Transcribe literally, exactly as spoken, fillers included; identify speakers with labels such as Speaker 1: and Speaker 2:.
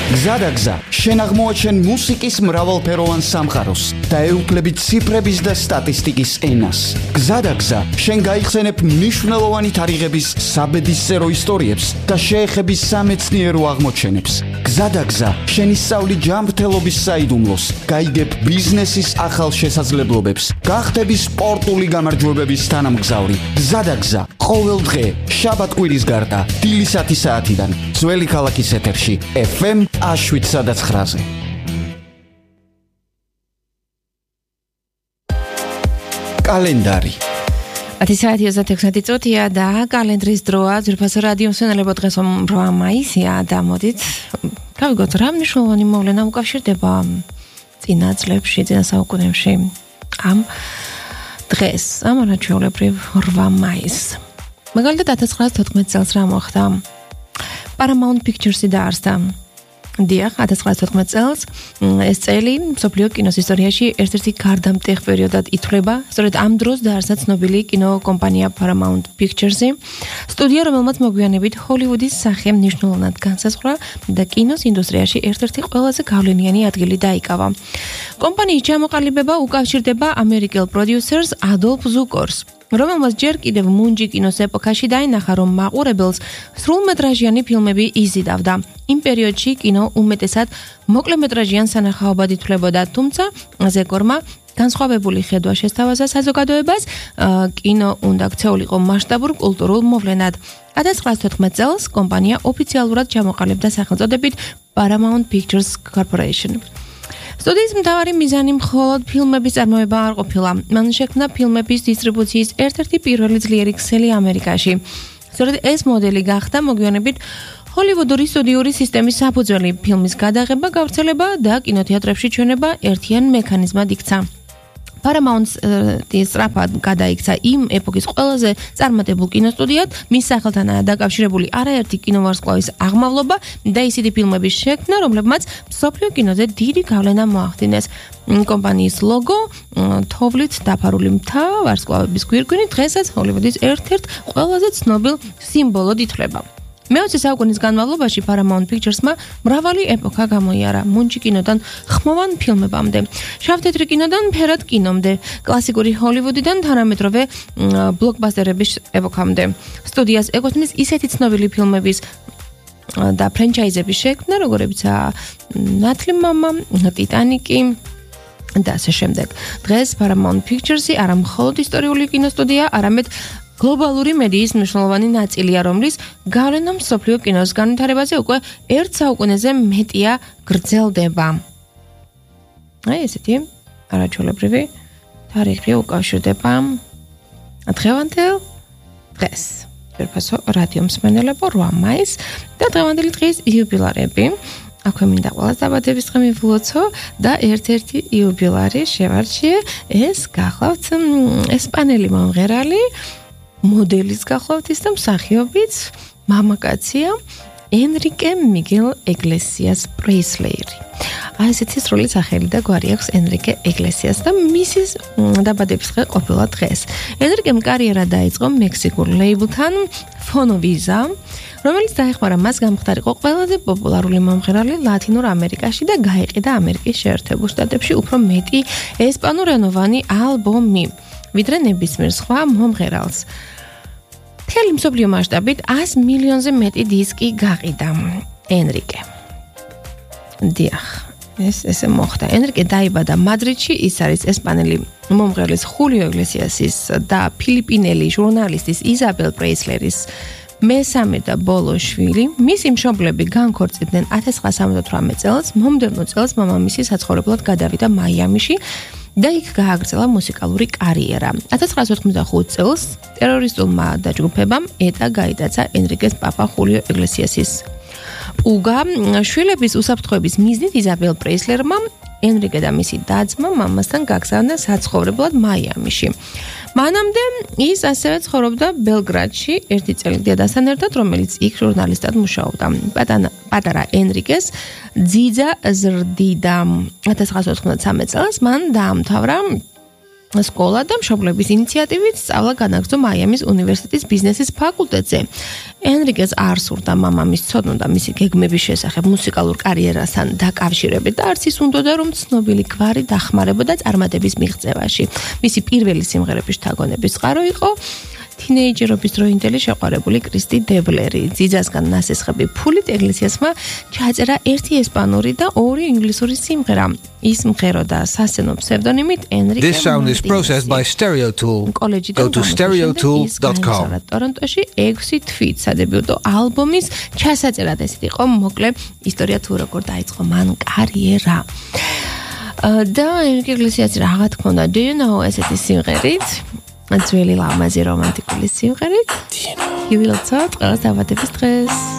Speaker 1: გზადაგზა, შენ აღმოაჩენ მუსიკის მრავალფეროვან სამყაროს და ეუფლები ციფრების და სტატისტიკის ენას. გზადაგზა, შენ გაიხსენებ მნიშვნელოვანი თარიღების საბედისწერო ისტორიებს და შეეხები სამეცნიერო აღმოჩენებს. გზადაგზა, შენ ისწავლი ჯანმრთელობის საიდუმლოს, გაიგებ ბიზნესის ახალ შესაძლებლობებს, გახდები სპორტული გამარჯვებების თანამგზავრი. გზადაგზა, ყოველ დღე, შაბათ-კვირის გარდა, დილისათი საათიდან, ძველი ქალაქის ეთერში, ეფ ემ შვიდსა და ცხრაზე. კალენდარი
Speaker 2: ათი საათი ოცდაექვსი წუთია და კალენდრის დროა. ძვირფასო რადიო მსმენელებო, დღეს ორი მაისია და მოდით გავიგოთ რა მნიშვნელოვანი მოვლენა უკავშირდება წინა წლებში, წინა საუკუნეებში ამ დღეს, ამ არაჩვეულებრივ ორი მაისს. მაგალითად ათას ცხრაასი თოთხმეტი წელს რა მოხდა? Paramount Pictures-ი დაარსდა. დიახ, ათას ცხრაასი თოთხმეტი წელს ეს წელი მსოფლიო კინოს ისტორიაში ერთ-ერთი გარდამტეხ პერიოდად ითვლება. სწორედ ამ დროს დაარსდა ცნობილი კინოკომპანია Paramount Pictures-ი, სტუდია, რომელმაც მოგვიანებით ჰოლივუდის სახე მნიშვნელოვნად განსაზღვრა და კინოს ინდუსტრიაში ერთ-ერთი ყველაზე გავლენიანი ადგილი დაიკავა. კომპანიის ჩამოყალიბება უკავშირდება ამერიკელ პროდიუსერს ადოლფ ზუკორს, რომელმაც ჯერ კიდევ მუნჯი კინოს ეპოქაში დაინახა, რომ მაყურებელს სრულმეტრაჟიანი ფილმები იზიდავდა. იმ პერიოდში კინო უმეტესად მოკლემეტრაჟიან სანახაობად ითვლებოდა, თუმცა ზეკორმა განსხვავებული ხედვა შესთავაზა საზოგადოებას, კინო უნდა ქცეულიყო მასშტაბურ კულტურულ მოვლენად. ათას ცხრაასი თოთხმეტი წელს კომპანია ოფიციალურად ჩამოყალიბდა სახელწოდებით Paramount Pictures Corporation. სტუდიის მთავარი მიზანი მხოლოდ ფილმების წარმოება არ ყოფილა. მან შექმნა ფილმების დისტრიბუციის ერთ-ერთი პირველი ძლიერი ქსელი ამერიკაში. სწორედ ეს მოდელი გახდა მოგვიანებით ჰოლივუდური სტუდიური სისტემის საფუძველი. ფილმის გადაღება, გავრცელება და კინოთეატრებში ჩვენება ერთიან მექანიზმად იქცა. Paramount-ის სწრაფად გადაიქცა იმ ეპოქის ყველაზე წარმატებულ კინოსტუდიად, მის სახელთანაა დაკავშირებული არაერთი კინოვარსკვლავის აღმავლობა და ისეთი ფილმების შექმნა, რომლებმაც მსოფლიო კინოზე დიდი გავლენა მოახდინეს. კომპანიის ლოგო, თოვლით დაფარული მთა, ვარსკვლავების გვირგვინი დღესაც ჰოლივუდის ერთ-ერთ ყველაზე ცნობილ სიმბოლოდ ითვლება. მეოცე საუკუნის განმავლობაში Paramount Pictures-მა მრავალი ეპოქა გამოიარა, მუნჯი კინოდან ხმოვან ფილმებამდე, შავ-თეთრი კინოდან ფერად კინომდე, კლასიკური ჰოლივუდიდან თანამედროვე ბლოკბასტერების ეპოქამდე. სტუდიას ეკუთვნის ისეთი ცნობილი ფილმების და ფრენჩაიზების შექმნა, როგორებიცაა ნათლი მამა, ტიტანიკი და ასე შემდეგ. დღეს Paramount Pictures-ი არა მხოლოდ ისტორიული კინოსტუდია, არამედ გლობალური მედიის მნიშვნელოვანი ნაწილია, რომლის გავლენა მსოფლიო კინოს განვითარებაზე უკვე ერთ საუკუნეზე მეტია გრძელდება. აი ესეთი არაჩვეულებრივი თარიღი უკავშირდება დღევანდელ დღეს. ძვირფასო რადიო მსმენელებო, ორი მაისი და დღევანდელი დღის იუბილარები. აქვე მინდა ყველას დაბადების დღე მივულოცო და ერთ-ერთი იუბილარი შევარჩიე, ეს გახლავთ ესპანელი მომღერალი, მოდელის გახლავთ და მსახიობიც მამაკაცია ენრიკე მიგელ ეგლესიას პრეისლერი. აი ესეთი სრული სახელი და გვარი აქვს ენრიკე ეგლესიას და მისის დაბადების დღე ყოფილა დღეს. ენრიკემ კარიერა დაიწყო მექსიკურ ლეიბლთან Fonovisa, რომელიც დაეხმარა მას გამხდარიყო ყველაზე პოპულარული მომღერალი ლათინურ ამერიკაში და გაიყიდა ამერიკის შეერთებულ შტატებში უფრო მეტი ესპანურენოვანი ალბომი, ვიდრე ნებისმიერ სხვა მომღერალს. მთელი მსოფლიო მასშტაბით ას მილიონზე მეტი დისკი გაყიდა ენრიკე. დიახ, ეს ესე მოხდა. ენრიკე დაიბადა მადრიდში, ის არის ესპანელი მომღერლის ხულიო ეგლესიასის და ფილიპინელი ჟურნალისტის იზაბელ პრეისლერის მესამე და ბოლო შვილი. მისი მშობლები განქორწინდნენ ათას ცხრაასი სამოცდათვრამეტ წელს, მომდევნო წელს მამამისი საცხოვრებლად გადავიდა მაიამიში და იქ გააგრძელა მუსიკალური კარიერა. ათას ცხრაასი ოთხმოცდახუთი წელს ტერორისტულმა დაჯგუფებამ ეტა გაიტაცა ენრიკეს პაპა ხულიო ეგლესიასის უგა. შვილების უსაფრთხოების მიზნით იზაბელ პრეისლერმა ენრიკე და მისი და-ძმა მამასთან გაგზავნა საცხოვრებლად მაიამიში. მანამდე ის ასევე ცხოვრობდა ბელგრადში ერთი წელი დედასთან ერთად, რომელიც იქ ჟურნალისტად მუშაობდა. პატარა ენრიკეს ძიძა ზრდიდა. ათას ცხრაასი ოთხმოცდამეცხრამეტ წელს მან დაამთავრა სკოლა და მშობლების ინიციატივით სწავლა განაგრძო მაიამის უნივერსიტეტის ბიზნესის ფაკულტეტზე. ენრიკეს არ სურდა მამამის ცოდნა მისი გეგმების შესახებ მუსიკალურ კარიერასთან დაკავშირებით და არც ის უნდოდა რომ ცნობილი გვარი დახმარებოდა წარმატების მიღწევაში. მისი პირველი სიმღერების შთაგონების წყარო იყო თინეიჯერობის დროინდელი შეყვარებული კრისტი დებლერი. ძიძასგან ნასესხები ფულით ეკლესიასმა ჩაწერა ერთი ესპანური და ორი ინგლისური სიმღერა. ის მღეროდა სასცენო ფსევდონიმით ენრიკე
Speaker 3: This sound is processed by Stereotool. Go to stereotool dot com.
Speaker 2: ტორონტოში ექვსი თვით სადებიუტო ალბომის ჩასაწერად ესეთ იყო მოკლე ისტორია თუ როგორ დაიწყო მან კარიერა. და ენრიკე ეკლესიას რაღაც ქონდა Do you know ესეთი სიმღერით? ძველი ლამაზი რომანტიკული სიმღერით. You will talk. ყველას დაბადების დღეს.